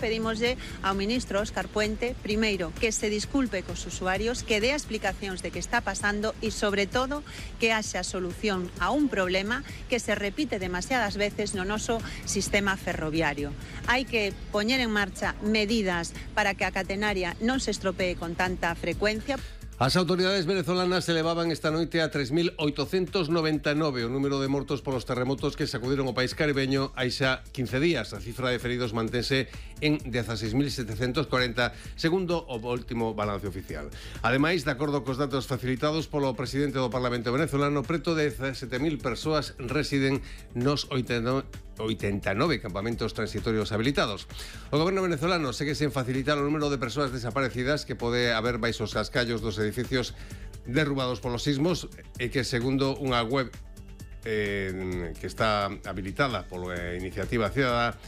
pedímoslle ao ministro Óscar Puente, primeiro, que se disculpe cos usuarios, que dé explicacións de que está pasando e, sobre todo, que haxa solución a un problema que se repite demasiadas veces no noso sistema ferroviario. Hai que poñer en marcha medidas para que a catenaria non se estropee con tanta frecuencia. As autoridades venezolanas elevaban esta noite a 3.899 o número de mortos polos terremotos que sacudiron o país caribeño hai xa 15 días. A cifra de feridos mantense en 16.740, segundo o último balance oficial. Ademais, de acordo cos datos facilitados polo presidente do Parlamento venezolano, preto de 17.000 persoas residen nos 89 campamentos transitorios habilitados. O goberno venezolano segue sen facilitar o número de persoas desaparecidas que pode haber baixo os cascallos dos edificios derrubados polos sismos e que, segundo unha web que está habilitada pola Iniciativa Cidadá,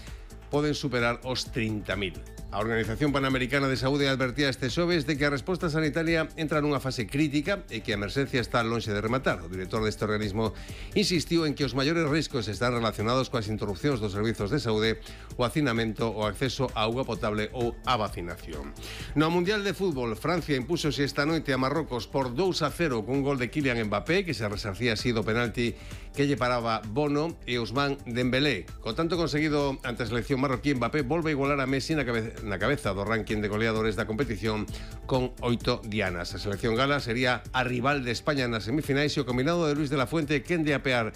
poden superar os 30.000. A Organización Panamericana de Saúde advertía este xoves de que a resposta sanitaria entra nunha fase crítica e que a emerxencia está lonxe de rematar. O director deste organismo insistiu en que os maiores riscos están relacionados coas interrupcións dos servizos de saúde, o hacinamento, o acceso a auga potable ou a vacinación. No Mundial de Fútbol, Francia impúxose esta noite a Marrocos por 2-0 cun gol de Kylian Mbappé, que se resarcía así do penalti que lle paraba Bono e Ousmane Dembélé. Con tanto conseguido ante a selección marroquí, Mbappé volve a igualar a Messi na cabeza do ranking de goleadores da competición con 8 dianas. A selección gala sería a rival de España nas semifinais e o combinado de Luis de la Fuente quen de apear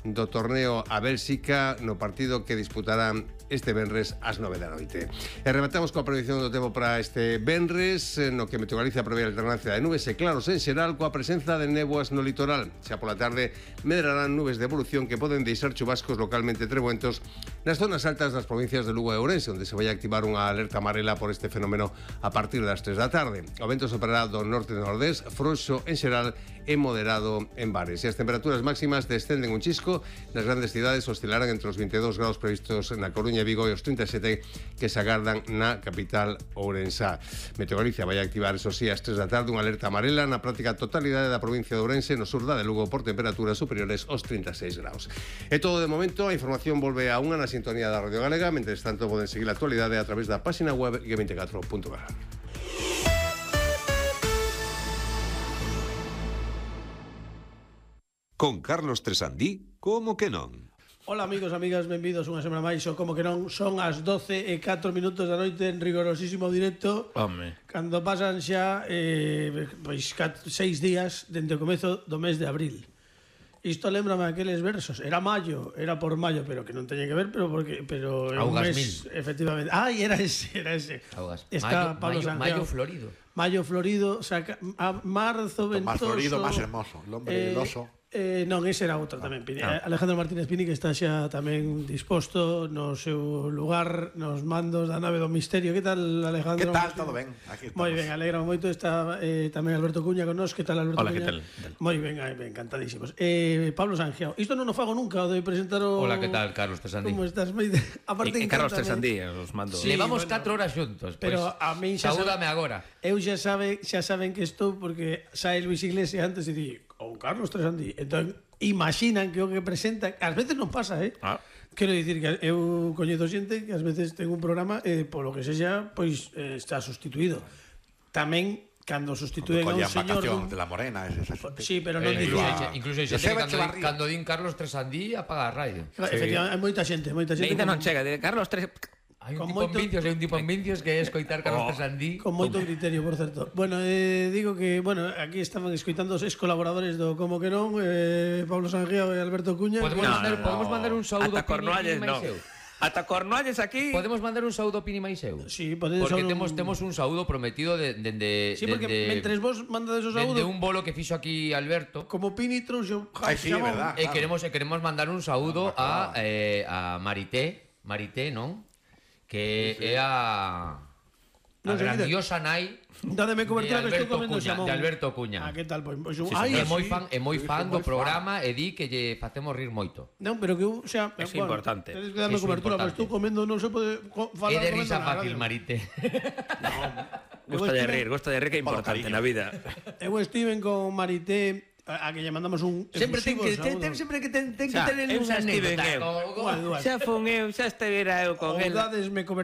do torneo a Bélxica no partido que disputarán este venres ás 9 da noite. E rematamos coa previsión do tempo para este venres, no que Meteorgalicia prevé a alternancia de nubes e claros en xeral, coa presenza de néboas no litoral. Xa pola tarde medrarán nubes de evolución que poden deixar chubascos localmente trebuentos nas zonas altas das provincias de Lugo e Ourense, onde se vai activar unha alerta amarela por este fenómeno a partir das 3 da tarde. O vento soprará do norte e nordés, frouxo en xeral e moderado en bares. E as temperaturas máximas descenden un chisco. Nas grandes cidades oscilarán entre os 22 graus previstos na Coruña e Vigo e os 37 que se agardan na capital ourensá. Meteorgalicia vai activar, eso sí, ás 3 da tarde unha alerta amarela na práctica totalidade da provincia de Ourense, no sur da de Lugo, por temperaturas superiores aos 36 graus. É todo de momento, a información volve a unha na sintonía da Radio Galega. Mentres tanto, poden seguir a actualidade a través da página web g24.gal. Con Carlos Tresandí, como que non? Ola amigos, amigas, benvidos unha semana máis. O como que non, son as 12:04 da noite en rigorosísimo directo. Home. Cando pasan xa 6 días dende o comezo do mes de abril. Isto lembrame aqueles versos. Era maio, era por maio, pero que non teña que ver, pero é un mes, efectivamente. Ai, era ese. Augas. Está Pablo Sanjeo. Maio florido. Maio florido, marzo ventoso. Más florido, más hermoso. El hombre del oso. Non, ese era outro tamén, Pini. Alejandro Martínez Pini, que está xa tamén disposto no seu lugar nos mandos da nave do misterio. Que tal, Alejandro? Que tal? Todo ben. Moi ben, alegra moito. Está tamén Alberto Cuña con nos. Que tal, Alberto Hola, Cuña? que tal? Moi ben, encantadísimos. Pablo Sanjeo, isto non o fago nunca, o de presentar o... Hola, que tal, Carlos Tresandí? Como estás? Aparte, Carlos Tresandí, os mando. Sí, levamos bueno, 4 horas xuntos. Pero a min xa saúdame agora. Eu xa saben que estou porque sae Luis Iglesias antes e di o Carlos Tresandí. Entón, imaginan que o que presenta, ás veces non pasa, Quero dicir que eu coñezo xente que ás veces ten un programa e polo que sexa, pois está sustituído. Tamén cando sustituen a un señor de la Morena, sí, pero non incluso xente cando din Carlos Tresandí apaga a radio. Efectivamente, hai moita xente. Ainda non chega de Carlos Hai un tipo en Vincios que é escoitar Carlos Tresandí. Con moito criterio, por certo. Bueno, digo que, aquí estaban escoitando os ex-colaboradores do Como que non, Pablo Sanjeo e Alberto Cuña. Podemos mandar un saúdo a Pini Maiseu. Ata Cornualles aquí. Podemos mandar un saúdo a Pini Maiseu. Sí, podemos. Porque temos un saúdo prometido de sí, porque mentres vos mandades o saúdo de un bolo que fixo aquí Alberto. Como Pini trouxo. Sí, é verdad. E queremos mandar un saúdo a Marité, non? Que é a grandiosa nai Dádeme cobertura que estou comendo xamón de Alberto Cuña. Que tal? Pois é moi fan do programa e di que lle facemos rir moito. Non, pero que eu xa é importante. Tedes que darme cobertura, porque estou comendo, non se pode falar. É de risa fácil, Marité. Gusta de rir, que é importante na vida. Eu estiven con Marité, a que lle mandamos un sempre ten que ter unha anécdota. Xa fun eu, xa estivera eu con el. Dádesme cobertura.